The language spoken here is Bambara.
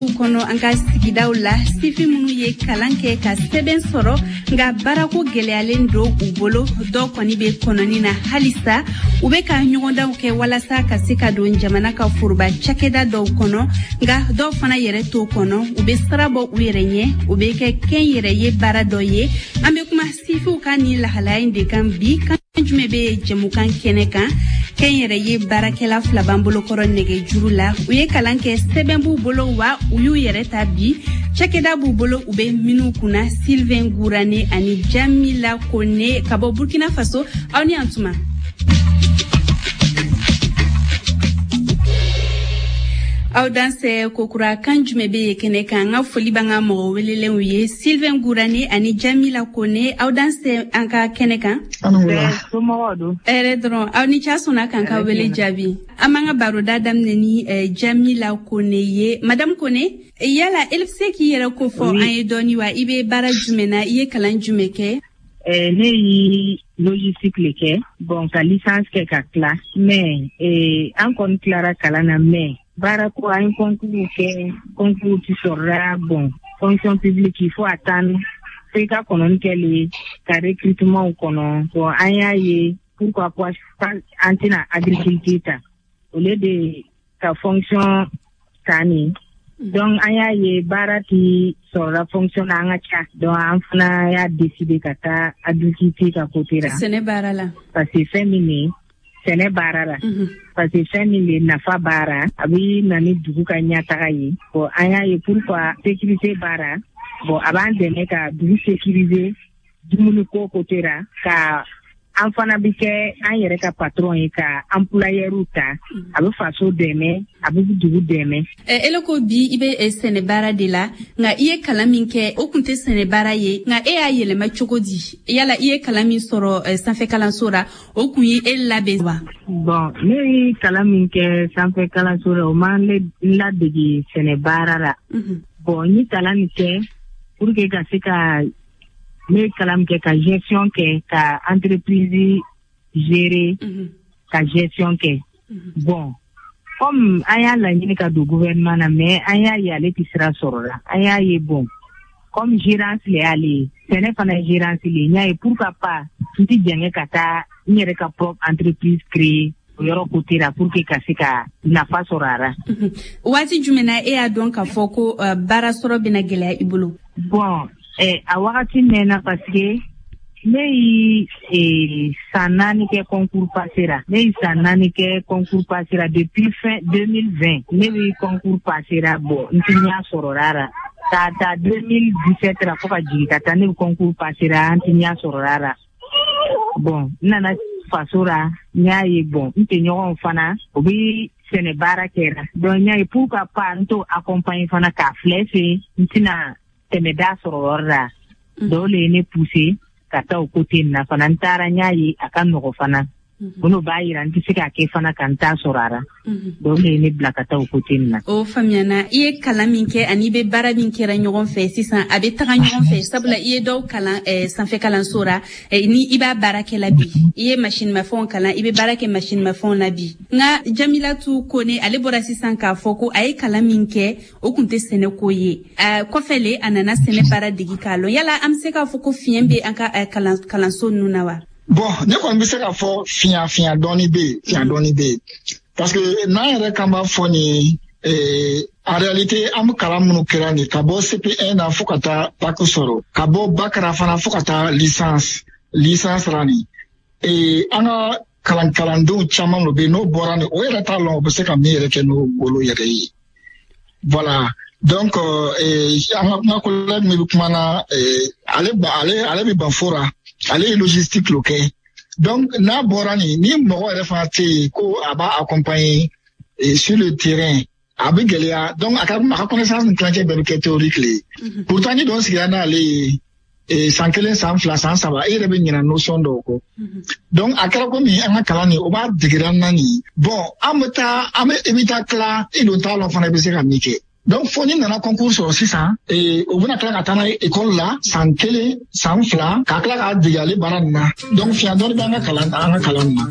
Kɔnɔ an ka sigidaw la, sifin minnu ye kalan kɛ ka sɛbɛn sɔrɔ, nka baarako gɛlɛyalen don u bolo, dɔw kɔni bɛ kɔnɔni na halisa. U bɛ ka ɲɔgɔndanw kɛ walasa ka se ka don jamana ka foroba cakɛda dɔw kɔnɔ, nka dɔw fana yɛrɛ t'o kɔnɔ, u bɛ sira bɔ u yɛrɛ ɲɛ, o bɛ kɛ kɛnyɛrɛye baara dɔ ye. An bɛ kuma sifinw ka nin lahalaya in de kan bi. Kan jumɛn bɛ jɛmukan kɛnɛ kan? Kɛnyɛrɛye baarakɛla fila b'an bolokɔrɔ nɛgɛjuru la. U ye kalan kɛ, sɛbɛn b'u bolo, wa u y'u yɛrɛ ta bi, cakɛda b'u bolo u bɛ minnu kunna. Sylvain Gourane ani Jamila Kone ka bɔ Burkina Faso, aw ni an tuma. Aw dansɛ kokura. Kan jumɛn bɛ yen kɛnɛ kan? An ka foli b'an ka mɔgɔ welelenw ye, Sylvain Gourane ani Jamila Kone, aw dansɛ an ka kɛnɛ kan. Hɛrɛ dɔrɔn. Aw ni ca sɔnna k'an ka wele jaabi. An b'an ka baroda daminɛ ni Jamila Kone ye. Madame Kone, yala e bɛ se k'i yɛrɛ ko fɔ an ye dɔɔni wa? I bɛ baara jumɛn na? I ye kalan jumɛn kɛ? Ne ye logistique le kɛ, bon, ka licence kɛ ka tila, mais an kɔni tilara kalan na, mais baara ko, an ye concours kɛ, concours ti sɔrɔla. Bon, fonction publique, il faut attendre fo i ka kɔnɔni kɛ le ka recrutement kɔnɔ. Bon, an y'a ye pourquoi pas an tɛna agriculture ta au lieu de ka fonction ta nin. Donc an y'a ye baara ti sɔrɔla fonction na, an ka ca. Donc an fana y'a décider ka taa agriculture ka côté la. Sɛnɛ baara la. Parce que fɛn min ye sɛnɛ baara la, parce que fɛn min bɛ nafa baara, a bɛ na ni dugu ka ɲɛtaga ye. Bon, an y'a ye pourquoi sécurité baara, bon, a b'an dɛmɛ ka dugu sécuriser dumuni ko côté la, ka an fana bɛ kɛ an yɛrɛ ka patron ye, ka employeur ta, a bɛ faso dɛmɛ, a bɛ dugu dɛmɛ. Ele ko bi i bɛ sɛnɛ baara de la, nka i ye kalan min kɛ, o kun tɛ sɛnɛ baara ye, nka e y'a yɛlɛma cogo di? Yala i ye kalan min sɔrɔ sanfɛ kalanso la, o kun ye e labɛn wa? Bon, ne ye kalan min kɛ sanfɛ kalanso la, o ma n ladege sɛnɛ baara la. Bon, n ye kalan min kɛ pour que ka se ka, ne ye kalan min kɛ ka gestion kɛ, ka entreprise gérer, ka gestion kɛ. Bon, comme an y'a laɲini ka don gouvernement na, mais an y'a ye ale tɛ sira sɔrɔ la. An y'a ye, bon, comme gérance le y'ale ye, sɛnɛ fana ye gérance le ye, n y'a ye pourquoi pas n tɛ jɛngɛ ka taa n yɛrɛ ka propre entreprise créer o yɔrɔ côté la pour que ka se ka nafa sɔrɔ a la. Waati jumɛn na e y'a dɔn k'a fɔ ko baara sɔrɔ bɛna gɛlɛya i bolo? Bon, a wagati mɛnna, parce que ne ye san 4 kɛ concours passer la. Ne ye san 4 kɛ concours passer la depuis fin 2020. Ne bɛ concours passer la, bon, n ti ɲɛ sɔrɔ la k'a ta 2017 la fo ka jigin ka taa, ne bɛ concours passer la, an ti ɲɛ sɔrɔ la. Bon, n nana faso la, n y'a ye, bon, n tɛɲɔgɔnw fana, o bɛ sɛnɛ baara kɛra. Donc n y'a ye pourquoi pas n t'o accompagner fana k'a filɛ se n tɛna tɛmɛ da sɔrɔ yɔrɔ la. Dɔw le ye ne pousser ka taa o côté nin na fana. N taara, n y'a ye a ka nɔgɔ fana. O b'a yira n tɛ se k'a kɛ fana ka n ta sɔrɔ a la. Donc le ye ne bila ka taa o côté nin na. O faamuyana. I ye kalan min kɛ ani i bɛ baara min kɛra ɲɔgɔn fɛ sisan, a bɛ taga ɲɔgɔn fɛ, sabula i ye dɔw kalan sanfɛ kalanso la, ni i b'a baara kɛ la bi. I ye machine mafɛnw kalan, i bɛ baara kɛ machine mafɛnw na bi. Nka Jamilatu Kone, ale bɔra sisan k'a fɔ ko a ye kalan min kɛ, o kun tɛ sɛnɛko ye. Kɔfɛ le a nana sɛnɛ baara degi k'a lɔn. Yala an bɛ se k'a fɔ ko fiɲɛ bɛ an ka kalanso ninnu na wa? Bon, ne kɔni bɛ se k'a fɔ fiɲɛ dɔɔni bɛ yen, fiɲɛ dɔɔni bɛ yen, parce que n'an yɛrɛ kan b'a fɔ nin, en réalité an bɛ kalan minnu kɛra nin, ka bɔ CP1 na fo ka taa bac sɔrɔ, ka bɔ bac ra fana fo ka taa licence la nin, an ka kalandenw caman de bɛ yen, n'o bɔra nin, o yɛrɛ t'a lɔn o bɛ se ka min yɛrɛ kɛ n'o bolo yɛrɛ ye. Voilà. Donc an ka collègue min bɛ kuma na, ale bɛ Banfo ra, ale ye logistique lo kɛ. Donc n'a bɔra nin, ni mɔgɔ yɛrɛ fana tɛ yen ko a b'a accompagner sur le terrain, a bɛ gɛlɛya. Donc a ka connaissance ni tilancɛ bɛɛ bɛ kɛ théorique le ye. Pourtant ni dɔ sigira n'ale ye san 1, san 2, san 3, e yɛrɛ bɛ ɲinɛ notion dɔw kɔ. Donc a kɛra komi an ka kalan nin, o b'a degera an na nin. Bon, an bɛ taa, an bɛ i bɛ taa tila, i dun t'a lɔn fana i bɛ se ka min kɛ. Donc fo ni nana concours sɔrɔ sisan, o bɛna tila ka taa n'a ye école la san 1, san 2, ka tila k'a dege ale baara nin na. Donc fiɲɛ dɔɔni bɛ an ka kalan nin na.